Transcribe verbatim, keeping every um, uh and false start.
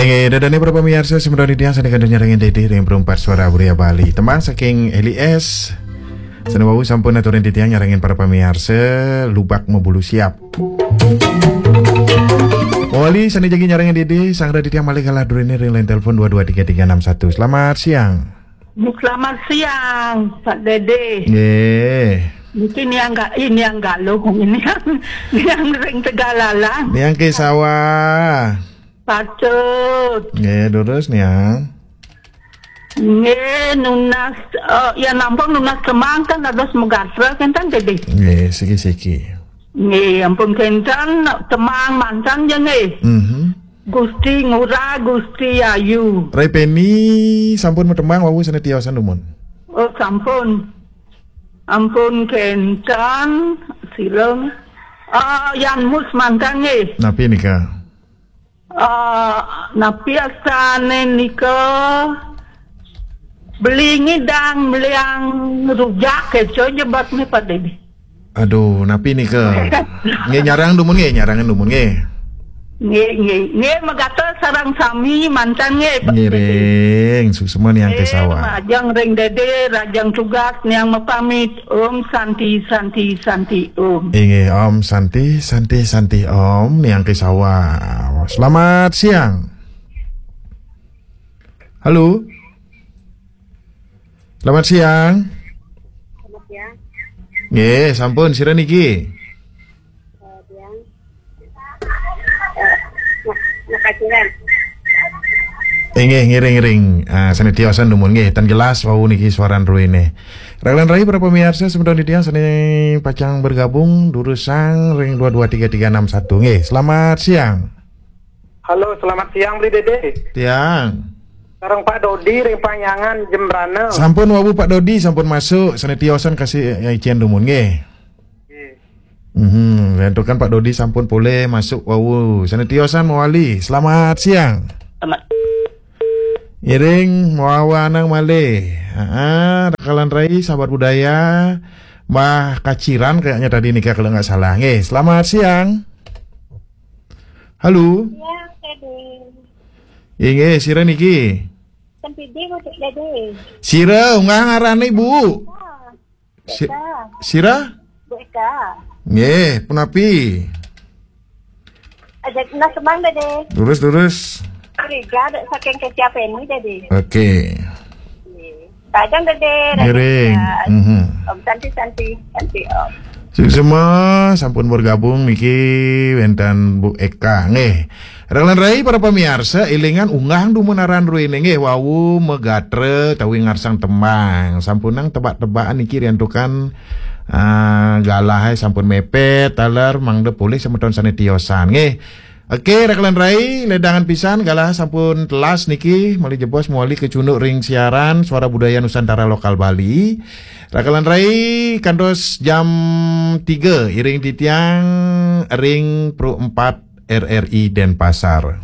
Inggih, ida dané para pamiarsa, sumedya titiang sané kantun nyarengin Dédé ring Perumpat Suara Budaya Bali. Tembang saking Eli S. Sané wau sampun aturin titiang nyarengin para pamiarsa, Lubak Mabulu Siap. Mawali sané jagi nyarengin Dédé, sanggra titiang malih galah druéné ring line telepon dua dua tiga tiga enam satu. Selamat siang. Selamat siang, Pak Dédé. Nggih. Niki niang ga-, eh, niang Galuh, niang, niang ring Tegalalang. Niang Kesawa. Patut. Nggih, durus niang. Nggih, nunas, eh, ya nampung nunas tembang kan dados magatra kan, Dédé? Nggih, siki-siki. Nggih, ampun kénten tembang manten ja nggih. Mhm. Gusti Ngurah, Gusti Ayu. Rai Peni sampun matembang wau sané tiosan dumun. Oh, sampun. Ampun kénten, silem. Ah, Yan Mus manten nggih. Napi nika? Ah, napi asané nika? Beli ngidang, beliang rujak, kéto ja batné, Pak Dédé. Aduh, napi nika? Nggih, nyarang dumun nggih, nyarang dumun nggih. Nggih, nggih. Nggih, magatra sareng sami manten nggih, Pak Dédé. Ngiring, suksma niang Kesawa. Rajang ring Dédé, rajang tugas, niang mapamit. Om Santi, Santi, Santi, Om. Inggih, Om Santi, Santi, Santi, Om, niang Kesawa. Selamat siang. Halo. Selamat siang. Selamat siang. Nggih, sampun, sira niki? Eh, siang. Eh, Mak-, Makaciran. Inggih, ngiring-ngiring. Ah, sané tiosan dumun nggih, tan jelas wau niki suaran druéné. Rahajeng rai para pamiarsa, semeton titiang sané pacang bergabung, durusang ring dua dua tiga tiga enam satu. Nggih, selamat siang. Halo, selamat siang, Bli Dédé. Tiang. Sareng Pak Dodi ring Panyangan, Jembrana. Sampun wau Pak Dodi, sampun masuk, sané tiosan kasih, eh, icén dumun nggih. Nggih. Mhm, éntukan Pak Dodi sampun polih masuk wau. Sané tiosan mawali. Selamat siang. Selamat. Ngiring mawawanang malih. Heeh, rakalan rai, sahabat budaya. Mbah Kaciran kayaknya tadi nika kalau nggak salah. Nggih, selamat siang. Halo. Siang, Dédé. Inggih, sira niki? Sempidi, Bu Dédé. Sira, unggah ngarané, Bu? Ah. Si-, Eka. Sira? Bu Eka. Nggih, punapi? Aja kena semang, Dédé. Lurus, lurus. Riga, dek saking Kesia Peni, Dédé. Oke. Nggih. Padang, Dédé. Ngiring. Mhm. Om Santi, Santi, Santi, Om. Suksma, sampun bergabung niki wénten Bu Eka. Nggih. Rakalan rai para pamiarsa, élingang unggah dumun aran druéné nggih wau magatra tawi ngarsang tembang. Sampunang tebak-tebakan niki riantukan, ah, galahé sampun mepet, taler mangda polih semeton sané tiosan nggih. Oke, rakalan rai, ledangan pisan galah sampun telas niki, malih jebos mawali kacunduk ring siaran Suara Budaya Nusantara Lokal Bali. Rakalan rai kantos jam tiga iring titiang ring Pro empat R R I Denpasar.